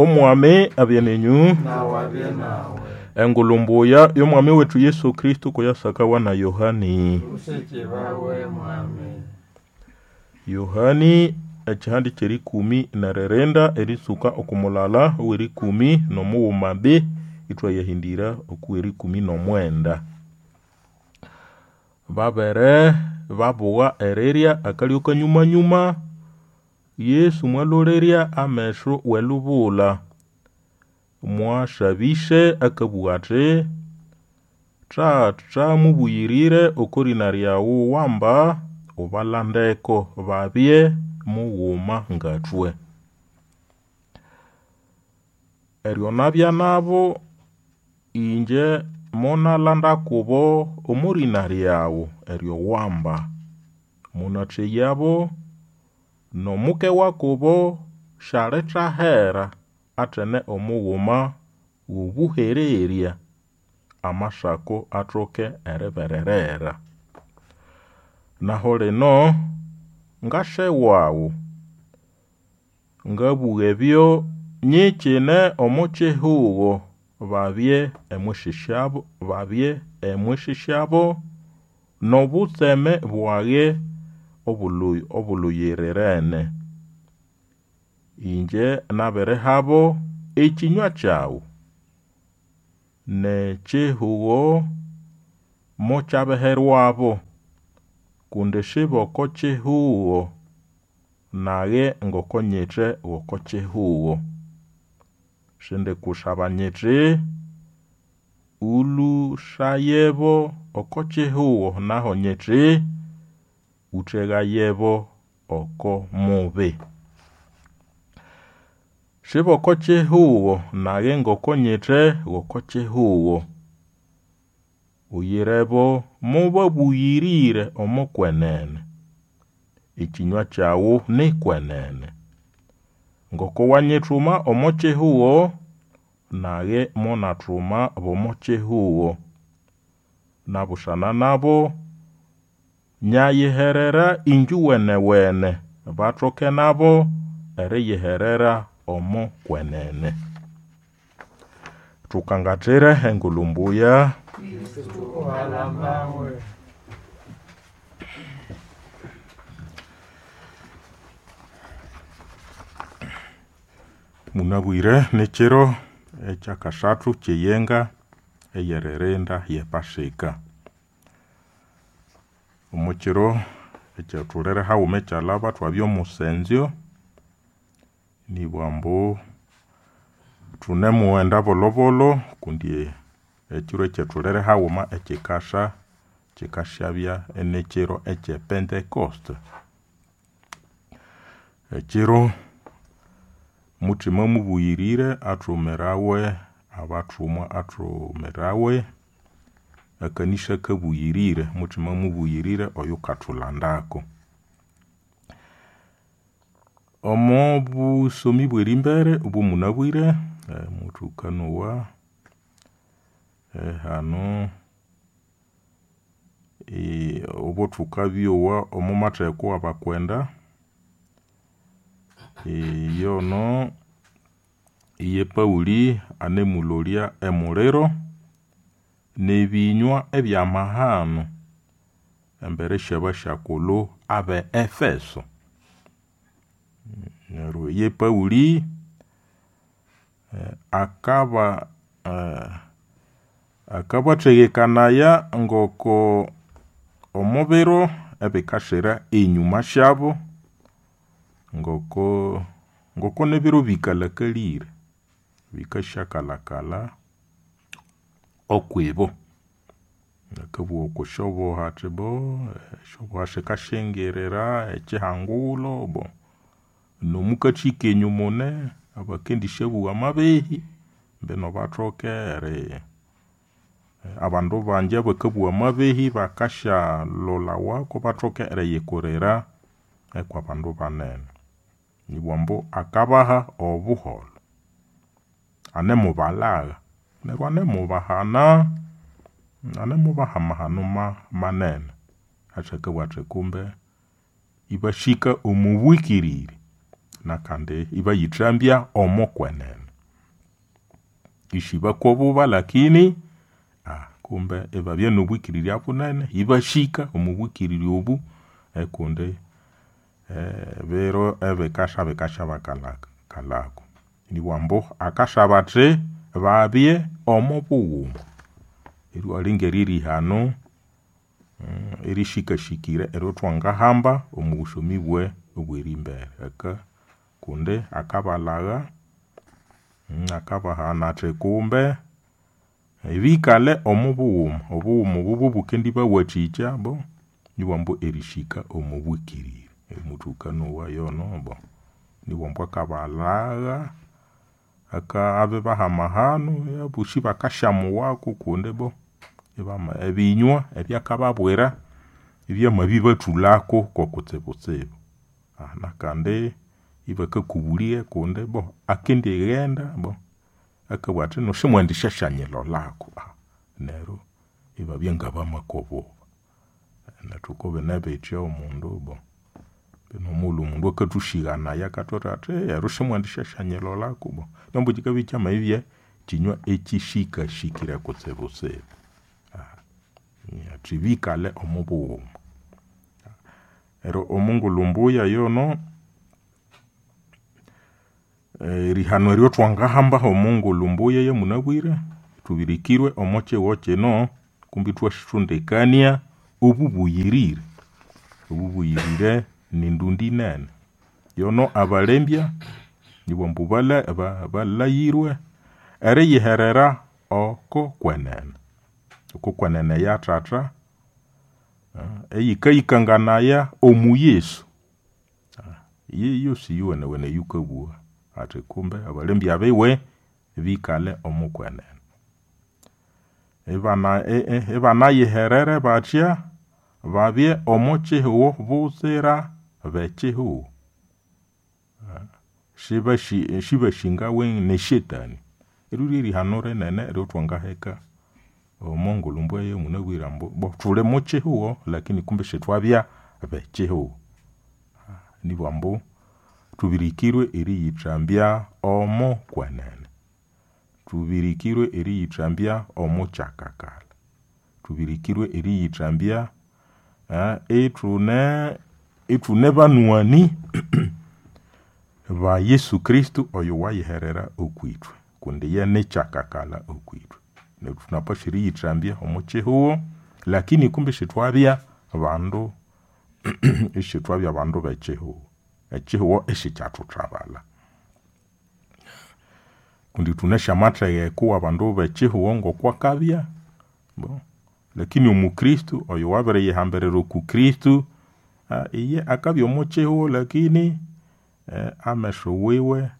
Omwami abye nenyu. Nawe abye nawe. Engulu mbuya y'Omwami wetu Yesu Kristo kuyasakawa na Yohani. Usikibawe mwami. Yohani ekihandi ky'erikumi neririnda erisuka okumulala ow'erikumi n'omughuma b ithwayahindira okuw'erikumi n'omwenda. Babere babugha erirya akalyo kanyumanyuma, Yesu mwalolerya ameso w'elubula, mwasabise akabugha athi, Tata mubuyirire oko lina lyawu wamba ubalandeko babye mughuma ngathwe. Eryo nabya nabo inje monalanda kubo omo lina lyawu eryo wamba. Munatheyabo n'omuke wakubo syalithahera athene omughuma w'obuhererya, amasako athoke eribererera. Naho lino ngase wawu, ngabugha ebyo nyikine omo kihugo babye emwisi syabo, babye emwisi syabo n'obutseme bwage obuluyirirene. Inje nabirihabo ekinywa kyawu n'ekihugo mokyabiherwabo, kundi sib'oko kihugo nage ngoko nyithe w'oko kihugo. Sindikusaba nyithi ũlũsayebo oko kihugo, naho nyithi ũthegayebo oko mubi. Sib'oko kihugo nage ngoko nyithe w'oko kihugo. Uyirebo mubabuyirire omo kwenene. Ekinywa kyawu ni kwenene. Ngoko wanyithuma omo kihugo, nage monathuma b'omo kihugo. Nabusana nabo nyayiherera injuwenewene, bathoke nabo eriyiherera omo kwenene. Thukangathire engulu mbuya. Kristo uhalambawe. Munabwire n'ekiro ekyakasathu ky'eyenga ey'eririnda y'epasika. Omo kiro ekyathulere haghuma ekyalhaba thwabya omusenzyo, nibugha ambu thunemughenda bolhobolho kundi ekiro ekyathulere haghuma ekikasa kikasyabya inekiro ekye Pentecost. Ekiro Muthima mubuyirire athumirawe abathumwa athumirawe akanisa kabuyirire, Muthima mubuyirire oyukathulandako. Omo busomi bw'erimbere obw'omunabwire, muthukanowa hano obo thukabyowa omo matheko w'abakwenda, iyono iye Pauli anemulolya emuliro n'ebinywa eby'amahano embere sy'abasyakulhu abe Efeso. Neryo ye Pauli akaba akabathegekanaya ngoko omo biro ebikasira enyuma syabo ngoko ngoko n'ebiro bikalhakalire, bikasyakalhakalha okwibo. Akabugha okwa syobuha athi bo esyobuha sikasyingirira ekihangulo bo n'omukathi kenyu mune abakendisyabugha amabehi mbino bathoke eri abandu bangi abakabugha amabehi bakasyalholawako bathoke eriyikurira kw'abandu banene. Nibugha ambu akabaha obuholho, anemubalhagha neryo anemubahana, anemubaha amahano manene. Athi akabugha athi kumbe ibasika omo bwikiriri nakandi ibayithambya omo kwenene. Isibakwa obuba lakini kumbe ibabya nobwikirirya bunene, ibahika omo bwikirirya obu ekundi ebiro ebikasya bikasyabakalhaku. Nibughambu ambu akasaba athi babye omo bughuma. Eryo ngerihano erishikashikire eryathwangahamba omo busomi obwerimbere aka kundi akabalhagha, akabahana athi kumbe bikalhe omo bughuma, obughuma obu bobukendibawathikya bo nibughambu erihika omo bwikirirya. Muthukanowa yono bo nibughambu akabalhagha, abibaha amahano abosi bakasyamuwako kundi bo ebinywa ebyakababwira ibyamabibathulhako ko kutsibutsibu. Nakandi ibakakubulya kundi bo akendighenda bo akabugha athi ino simwendisyanyilholako neryo ibabya ngabamakwa obuba. Nethu kubine bithya omundu bo nomughulhu omundu akathusĩganaya akatubwira athi eryo simwendisyasyanyilholako bo ambu kikabya ikyamabibya kyinywa ekyisikasikire kutsibutsibu. Athi bikalhe omo bughuma. Neryo omongulhu mbuya yono, erihano eryathwangahamba omongulhu mbuya eyamunabwire, thubirikirwe omo kihugho kino kumbe ithwasondekania obubuyirire. Obubuyirire nindundi nene. Yono abalembya nibughambu balhayirwe eriyiherera oko kwenene, oko kwenene eya Thatha eyikayikanganaya omu Yesu. Yeyosi yuwenewene eyukabugha athi kumbe abalembya biwe bikalhe omo kwenene. Ibanayiherere bathya babye omo kihugho butsira bekihugho. Sibasingawe ne shetani. Eryo ryerihano rinene eryathwangaheka omo ngulhu mbuya eyamunabwire ambu bo thuli mukihugho lakini kumbe isithwabya bekihugho. Nibugha ambu thubirikirwe eriyithambya omo kwenene, thubirikirwe eriyithambya omo kyakakalha, thubirikirwe eriyithambya ithune ithune banwani ba Yesu Kristo oyowayiherera okwithwe kundi iye nikyakakalha okwithwe. Neryo thunapaswa eriyithambya omo kihugho lakini kumbe isithwabya bandu isithwabya bandu bekihugho. Ekihugho isikyathuthabalha. Kundi thunasi amathegeko wabandu bekihugho ngokwakabya bo lakini omukristo oyo wabiriyihambirira oku Kristo iye akabya omo kihugho lakini ameso wiwe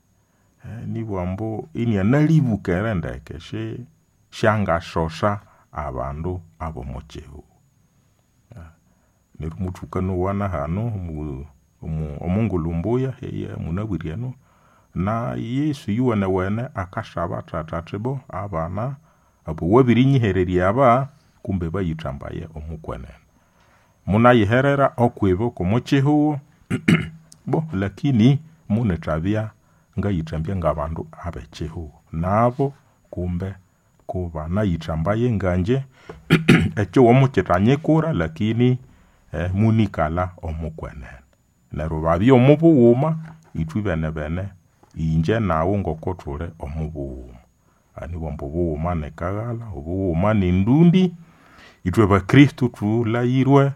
nibugha ambu inianalibukere ndeke syangasosa abandu abomo kihugho. Neryo muthukanowa nahanu omongulhu mbuya eyamunabwire enu na Yesu iyuwenewene akasaba Thatha athi bo abana abawabinyihererya aba kumbe bayithambaye omo kwenene. Munayiherera okwibo kwomo kihugho bo lakini munethabya ngayithambya ngabandu abekihugho. Nabo kumbe kubanayithambaye ngangye ekihugho mukyithanyikura lakini munikalha omo kwenene. Neryo babya omo bughuma ithwe ibenebene ingye naghu ngoko thuli omo bughuma. Nibughambu ambu obughuma nikaghalha, obughuma nindundi, ithwe bakristo thulhaghirwe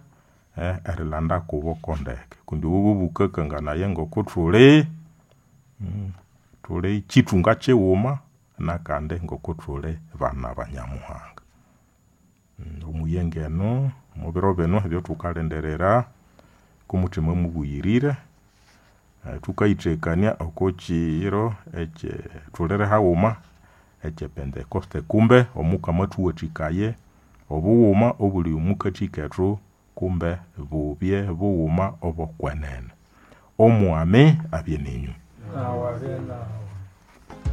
erilanda kubo kondeke kundi obo bobukakanganaya ngokuthuli thuli kyithunga kyighuma nakandi ngokuthuli bana ba Nyamuhanga. Omuyenge enu omubiro binu ebyathukalindirira komuthima mubuyirire, thukayithekania oko kiro ekye thulire haghuma ekye pentecost kumbe omukama athuwathikaye obughuma obuli omwakathi kethu kumbe bubye bughuma obokwenene. Omwami abye nenyu. Nawu abye nawu.